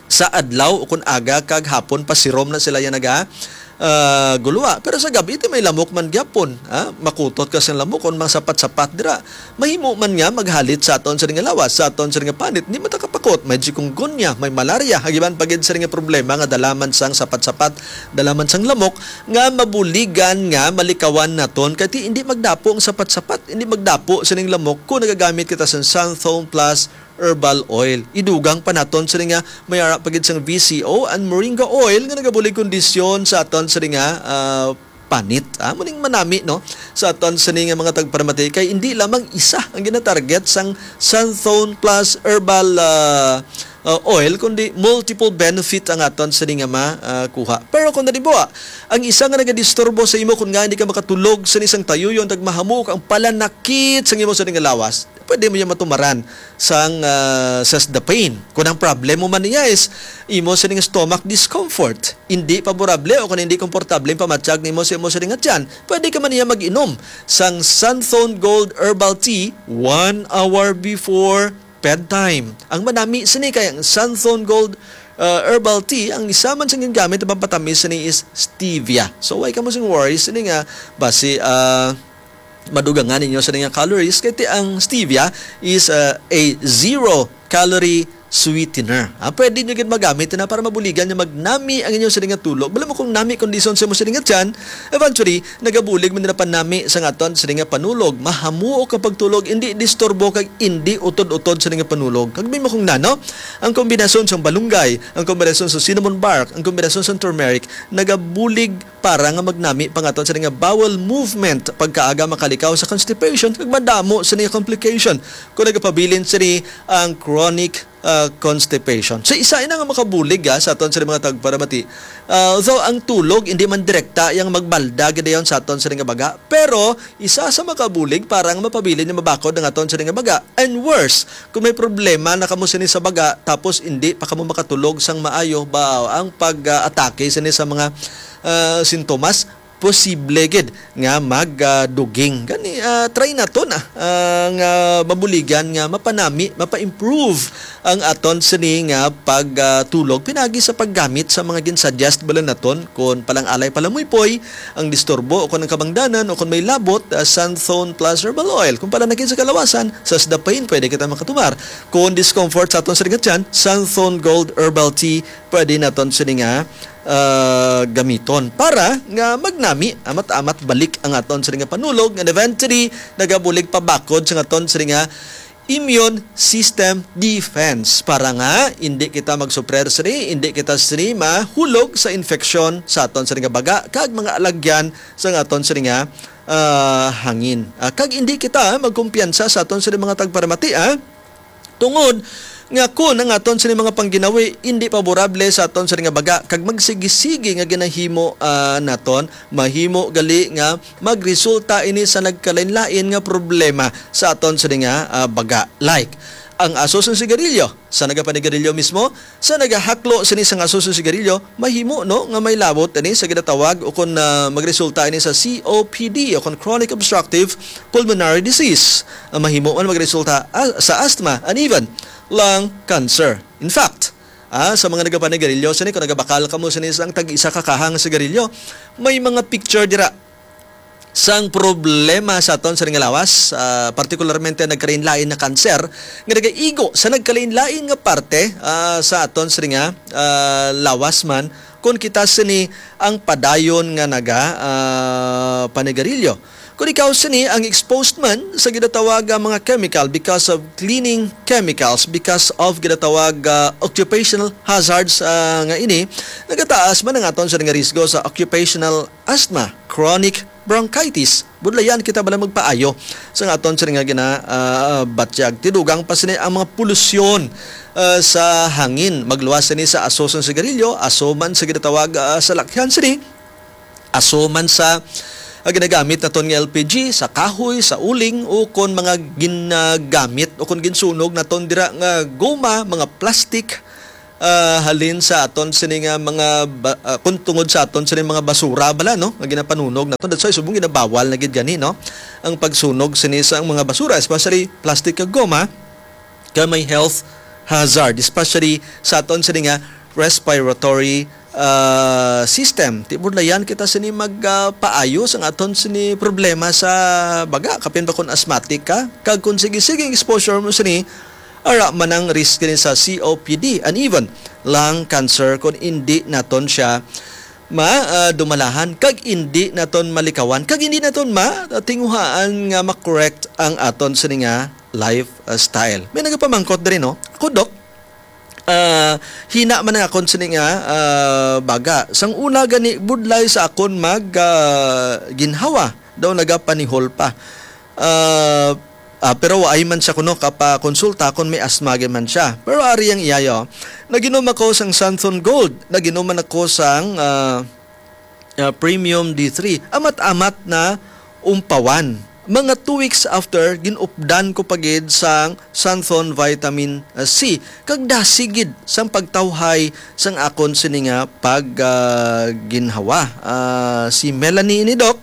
sa adlaw o kun aga kag hapon pasirom na sila yan naga, ah, gulwa. Pero sa gabi, ito may lamok man gyapon. Ha? Makutot ka sa lamok kung mga sapat-sapat dira. Mahimo man nga maghalit sa aton sa nga lawas, sa aton sa nga panit. Hindi man ta kapakot. May chikungunya, may malaria. Hagiban pa gid sa nga problema nga dala man sang sapat-sapat, dala man sang lamok, nga mabuligan nga malikawan naton. Kay ti, hindi magdapo ang sapat-sapat, hindi magdapo sa ning lamok kung nagagamit kita sa Santhone Plus Herbal Oil. Idugang pa naton sini nga may ara pa gid sang V C O and moringa oil nga nagabulig kondisyon sa aton sini nga, ah, panit. Ah, muning manami, no, sa aton sini nga mga tagparamati kay hindi lamang isa ang ginatarget sang Santhone Plus Herbal, ah, ah, Oil, kundi multiple benefit ang aton sini nga ma, ah, kuha. Pero kung nalibuwa, ang isa nga nagadisturbo sa imo kung nga hindi ka makatulog sa isang tayuyon, tagmahamok ang palanakit sa imo sa nga lawas. Pwede mo niya matumaran sang, ah, Sasdapine. Kung ang problema man niya is imo sining stomach discomfort, hindi paborable o kung hindi komportable ang pamatyag nimo sa imo sining tiyan, pwede ka man niya mag-inom sang Santhone Gold Herbal Tea one hour before bedtime. Ang manami sini kay ang Santhone Gold, ah, Herbal Tea, ang isa man sa ginagamit na pampatamis sini is stevia. So, why ka mo sing worry sini nga basi, ah, madugangan ninyo sa nga calories, kay ti ang stevia is, uh, a zero calorie sweetener. Ah, pwede nyo gid magamit na para mabuligan nga magnami ang inyong sining nga tulog. Bala mo kung nami kondisyon sa imo sining nga tiyan, eventually, nagabulig man nila panami sa aton sining nga panulog. Mahamuok ang pagtulog, hindi disturbo kag hindi utod-utod sining nga panulog. Kag may mo kung nano, ang kombinasyon sang balunggay, ang kombinasyon sa cinnamon bark, ang kombinasyon sa turmeric, nagabulig para nga magnami pa nga aton sini nga bowel movement, pagkaaga makalikaw sa constipation kag madamo sini nga complication kung nagapabilin sini ang chronic, ah, constipation. So, isa ina nga makabulig, ah, sa aton sini mga tagparamati. Ah, so, ang tulog hindi man direkta yang magbalda gid dayon sa aton sini nga baga, pero isa sa makabulig para nga mapabilin nga mabakod ang aton sini nga baga. And worse, kung may problema na kamo sini sa baga, tapos hindi pa kamo makatulog sang maayo, ba, ang pag-atake sini sa mga, ah, sintomas, posible gid nga mag, ah, duging. Gani, ah, try naton, ah, ah, nga mabuligan nga mapanami, mapa-improve ang aton sini nga pag, ah, tulog, pinagi sa paggamit sa mga ginsuggest bala naton, kon palang-alay, palamuypoy, ang disturbo o kon ang kabangdanan o kon may labot, ah, Santhone Plus Herbal Oil. Kung palanakit sa kalawasan, Sasdapine, pwede kita makatumar. Kung discomfort sa aton sa tiyan, Santhone Gold Herbal Tea, pwede naton sini nga, ah, gamiton para nga magnami amat-amat balik ang aton sini nga panulog, and eventually nagabulig pabakod sa aton sini nga immune system defense, para nga hindi kita magsuprer sini, hindi kita sini mahulog sa infeksyon sa aton sini nga baga kag mga alagyan sa aton sini nga, ah, hangin. Ah, kag hindi kita magkumpiyansa sa aton sini mga tagparamati, ah. Tungod nga kun ang aton sini mga pangginawi hindi paborable sa aton sini nga baga kag magsigi-sigi nga ginahimo, ah, naton, mahimo gali nga magresulta ini sa nagkalain-lain nga problema sa aton sini nga, ah, baga. Like, ang aso sang sigarilyo, sa nagapanigarilyo mismo, sa nagahaklo sini sang aso sang sigarilyo, mahimo, no, nga may labot ini sa ginatawag o kon, ah, magresulta ini sa C O P D o kon chronic obstructive pulmonary disease. Ang mahimo man magresulta, ah, sa asthma and even lung cancer. In fact, ah, sa mga nagapanigarilyo sini, kung nagabakal kamo sini sang tag-isa ka kaha nga sigarilyo, may mga picture dira sang problema sa aton sini nga lawas, ah, partikularmente nagkalain-lain na kanser nga nagaigo sa nagkalain-lain nga parte, ah, sa aton sini nga, ah, lawas man, kung kita sini ang padayon nga naga, ah, panigarilyo. Kung ikaw sini ang exposed man sa ginatawag nga mga chemical because of cleaning chemicals, because of ginatawag, ah, occupational hazards, ah, nga ini, nagataas man ang aton sini nga risgo sa occupational asthma, chronic bronchitis. Budlayan kita bala magpaayo sa aton sini nga gina, ah, batyag. Tidugang pa sini ang mga polusyon, ah, sa hangin. Magluwas sini sa aso sang sigarilyo, aso man sa ginatawag, ah, salakyan sini, aso man sa, ah, ginagamit naton nga L P G, sa kahoy, sa uling, o kon mga ginagamit o kon ginsunog naton dira nga goma, mga plastic, ah, halin sa aton sini nga mga ba-, ah, kung tungod sa aton sini mga basura bala, no, nga ginapanunog naton. That's why subong ginabawal na gid gani, no, ang pagsunog sini sa mga basura, especially plastic kag goma, kay may health hazard, especially sa aton sini nga respiratory, ah, system. Ti budlayan kita sini mag, ah, paayo sang aton sini problema sa baga, kapin pa kon asthmatic ka, kag kung sige-sige ang exposure mo sini, ara man ang risk ni sa C O P D and even lung cancer kung hindi naton siya ma, ah, dumalahan, kag hindi naton malikawan, kag hindi naton ma, tinguhaan nga ma-correct ang aton sini nga lifestyle. May nagapamangkot diri, no? Ako, Dok, ah, hina man ang akon sini nga, ah, baga. Sang una gani, budlay sa akon mag, ah, ginhawa. Daw nagapanihol pa. Ah, ah, pero waay man siya kuno kapakonsulta kon may asthma gid man siya. Pero ari ang iya, yo. Naginom ako sang Santhon Gold. Naginom man ako sang, ah, ah, Premium D three. Amat-amat na umpawan. Mga two weeks after, ginupdan ko pa gid sang Santhon Vitamin, ah, C. Kag dasi gid sang pagtawhay sang akon sini nga pag, ah, ginhawa. Ah, si Melanie ini, Dok,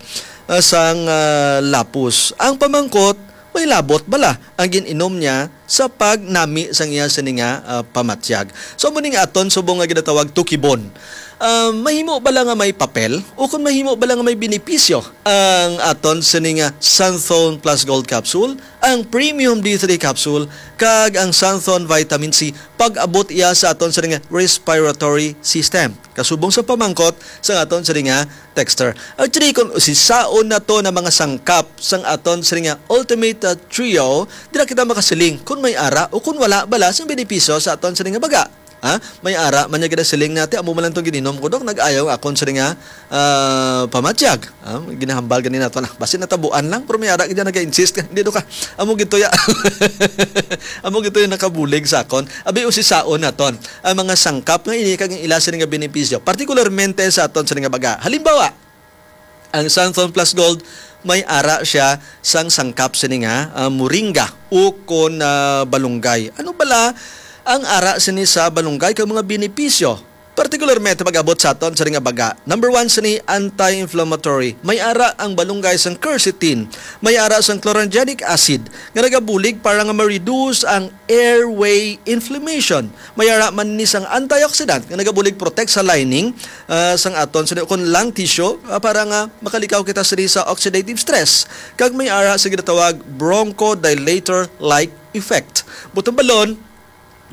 ah, sang, ah, Lapus. Ang pamangkot, may labot bala ang gin-inom niya sa pagnami sang iya sini nga, ah, pamatyag. So, amo ning aton subong nga ginatawag tukibon. Ah, mahimo bala nga may papel o kung mahimo bala nga may benepisyo ang aton sini nga Santhon Plus Gold Capsule, ang Premium D three Capsule, kag ang Santhon Vitamin C pag-abot iya sa aton sini nga respiratory system? Kasubong sa pamangkot sa aton sini nga texter. Actually, kung usisaon nato na mga sangkap sang aton sini nga Ultimate, uh, Trio, dira kita makasiling kung may ara o kung wala bala sang benepisyo sa aton sini nga baga. Ha? May ara man niya ginasiling natin, amo man lang itong gininom ko, Dok, nag-ayaw akon sini nga, ah, pamatyag. Ah, ginahambal gani nato na. Basi natabuan lang, pero may ara gid naga-insist. Hindi, Dok, ah. Amo gituya. Amo gituya nakabulig sa akon. Abi, usisaon naton ang mga sangkap nga ini kag ang ila sini nga benepisyo, partikularmente sa aton sini nga baga. Halimbawa, ang Santhon Plus Gold may ara siya sang sangkap sini nga, ah, moringa o kon, ah, balunggay. Ano bala ang ara sini sa balunggay kag mga benepisyo? Partikularmente pag-abot sa aton sini nga baga. Number one sini, anti-inflammatory. May ara ang balunggay sang quercetin. May ara sang chlorogenic acid nga nagabulig para nga ma-reduce ang airway inflammation. May ara man ni sang antioxidant nga nagabulig protect sa lining, ah, sang aton sini kon lung tissue, ah, para nga makalikaw kita sini sa oxidative stress. Kag may ara sa ginatawag bronchodilator-like effect. Buot silingon,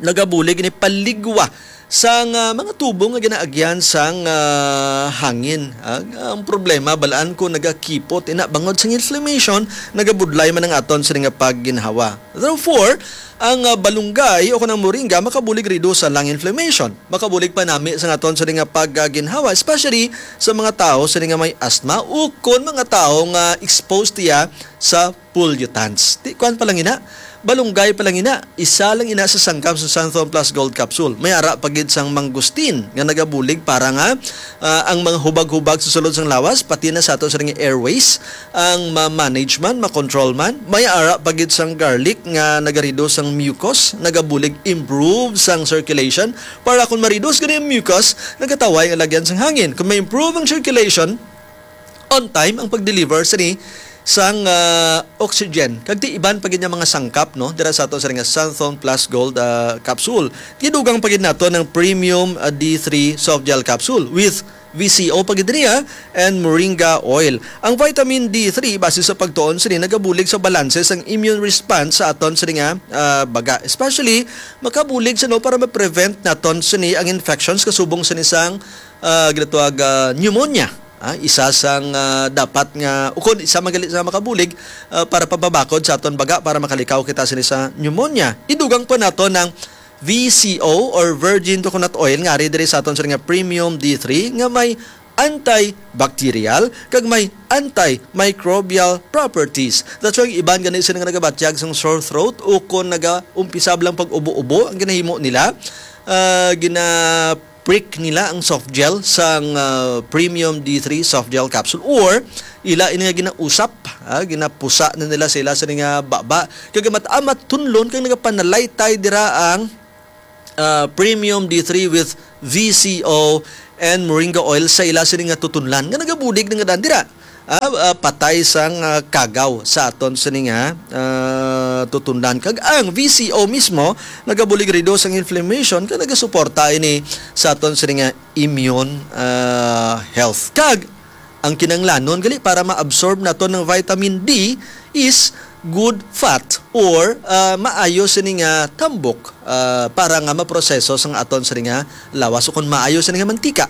nagabulig ni paligwa sang ah, mga tubo nga ginaagyan sang ah, hangin. Ah, ang problema, balaan ko nagakipot, ina bangod sang inflammation, nagabudlay man ang aton sini nga pagginhawa. Therefore, ang ah, balunggay o kanang moringa makabulig reduce sa lung inflammation. Makabulig panami sa aton sini nga pagginhawa, especially sa mga tawo sini nga may asthma o kon mga tawo nga exposed tiya sa pollutants. Ti kuan pa lang ina, balunggay pa lang ina, isa lang ina sa sangkap sa Santhon Plus Gold Capsule. May ara pa gid sang mangustin nga nagabulig para nga ah, ang mga hubag-hubag sa sulod sang lawas, pati na sa ato sa ring airways, ang ma-manage man, ma-control man. May ara pa gid sang garlic nga nagareduce sang mucus, nagabulig improve sang circulation. Para kung ma-reduce gani ang mucus, nagataway ang lagyan sang hangin. Kung ma-improve ang circulation, on time ang pag-deliver sini sang ah, oxygen. Kag ti iban pa gid nga mga sangkap, no, dira sa ato sa ring Santhon Plus Gold ah, capsule. Gidugang pa gid nato ng premium ah, D three soft gel capsule with V C O pa gid niya and moringa oil. Ang vitamin D three, base sa pagtuon sini, nagabulig sa balanse sang immune response sa aton sini nga ah, baga. Especially, makabulig sa, no, para ma-prevent naton sini ang infections kasubong sini sang ah, ginatawag ah, pneumonia. Ah, isa sang ah, dapat nga, ukon isa magalit sa makabulig ah, para pababakod sa aton baga para makalikaw kita sini sa pneumonia. Idugang pa nato ng V C O or virgin coconut oil nga ari diri sa aton sa nga premium D three nga may antibacterial kag may antimicrobial properties. That's why iban gani sila nga nagabatyag sang sore throat o kon nagaumpisab lang pag-ubo-ubo ang ginahimo nila, ah, gina prick nila ang soft gel sang ah, premium D three soft gel capsule or ila ini nga ginausap, ah, ginapusa na nila sila sa nga baba. Kag amat-amat tunlon kag nagapanalaytay dira ang ah, premium D three with V C O and moringa oil sa ila sini nga tutunlan nga nagabulig na nga daan dira. Ah, ah, patay sang ah, kagaw sa aton sini nga ah, tutunlan. Kag ang V C O mismo nagabulig reduce ang inflammation kag nagasuporta ini sa aton sini nga immune ah, health. Kag ang kinanglanon gali para ma-absorb naton ng vitamin D is good fat or ah, maayo sini nga tambok ah, para nga maproseso sang aton sini nga lawas o kung maayo sini nga mantika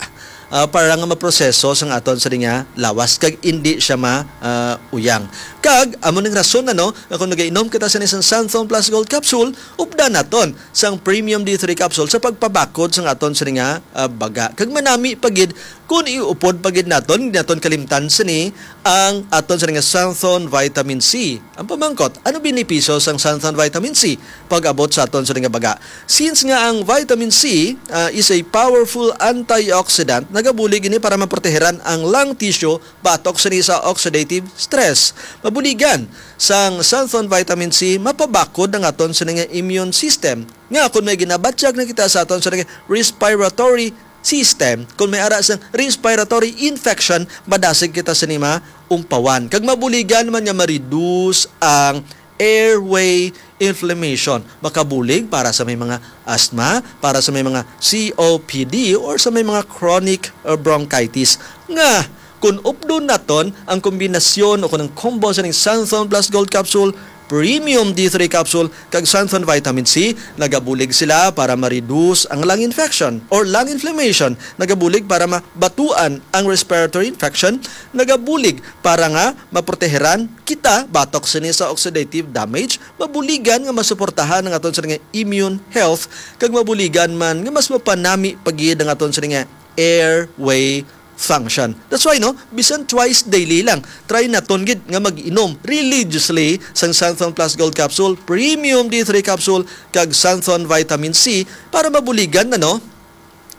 ah, para nga maproseso sang aton sini nga lawas kag indi siya ma ah, uyang. Kag amo ning rason, ano, nga kung nagainom kita sini sang Santhon Plus Gold Capsule, updan naton sang Premium D three Capsule sa pagpabakod sang aton sini nga ah, baga. Kag manami pa gid kung iupod pa gid naton, di naton kalimtan sini ang aton sini nga Santhon Vitamin C. Ang pamangkot, ano benepisyo sang Santhon Vitamin C pag-abot sa aton sini nga baga? Since nga ang vitamin C ah, is a powerful antioxidant, nagabulig ini para maproteheran ang lung tissue batok sini sa oxidative stress. Mabuligan sang Santhon Vitamin C mapabakod ang aton sini nga immune system. Nga kung may ginabatyag na kita sa aton sini nga respiratory system, kung may ara sang respiratory infection, madasig kita sini maumpawan. Kag mabuligan man nga ma-reduce ang airway inflammation. Makabulig para sa may mga asthma, para sa may mga C O P D, or sa may mga chronic uh, bronchitis. Nga, kung updon naton ang kombinasyon o kung ang combo sa ning Santhon Plus Gold Capsule, Premium D three Capsule, kag Santhon Vitamin C, nagabulig sila para ma-reduce ang lung infection or lung inflammation, nagabulig para mabatuan ang respiratory infection, nagabulig para nga maproteheran kita batok sini sa oxidative damage, mabuligan nga masuportahan ang aton sa nga immune health, kag mabuligan man nga mas mapanami pa gid ang aton sa nga airway function. That's why, no, bisan twice daily lang, try naton gid nga mag-inom religiously sang Santhon Plus Gold Capsule, Premium D three Capsule, kag Santhon Vitamin C para mabuligan na, no,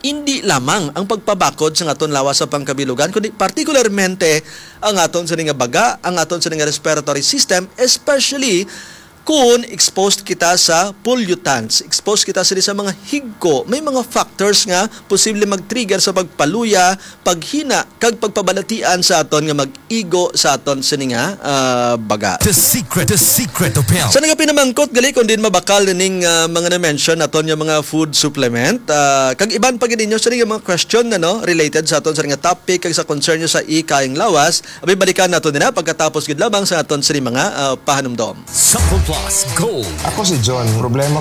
hindi lamang ang pagpabakod sa aton lawas sa pangkabilugan, kundi partikularmente ang aton sini nga baga, ang aton sini nga respiratory system, especially kung exposed kita sa pollutants, exposed kita sini sa mga higko, may mga factors nga posible mag-trigger sa pagpaluya, paghina, kag pagpabalatian sa aton nga mag-igo sa aton sini nga ah, baga. The secret, the secret of health. Sa nagapinamangkot gali kung din mabakal ning ah, mga na-mention naton nga mga food supplement, ah, kag iban pa gid ninyo sa nga mga question na, no, related sa aton sa nga topic kag sa concern nyo sa ikayang lawas, abi balikan nato nila pagkatapos gid lamang sa aton sini mga ah, pahanumdom. Sample Plus Gold. Ako si John. Problema ko,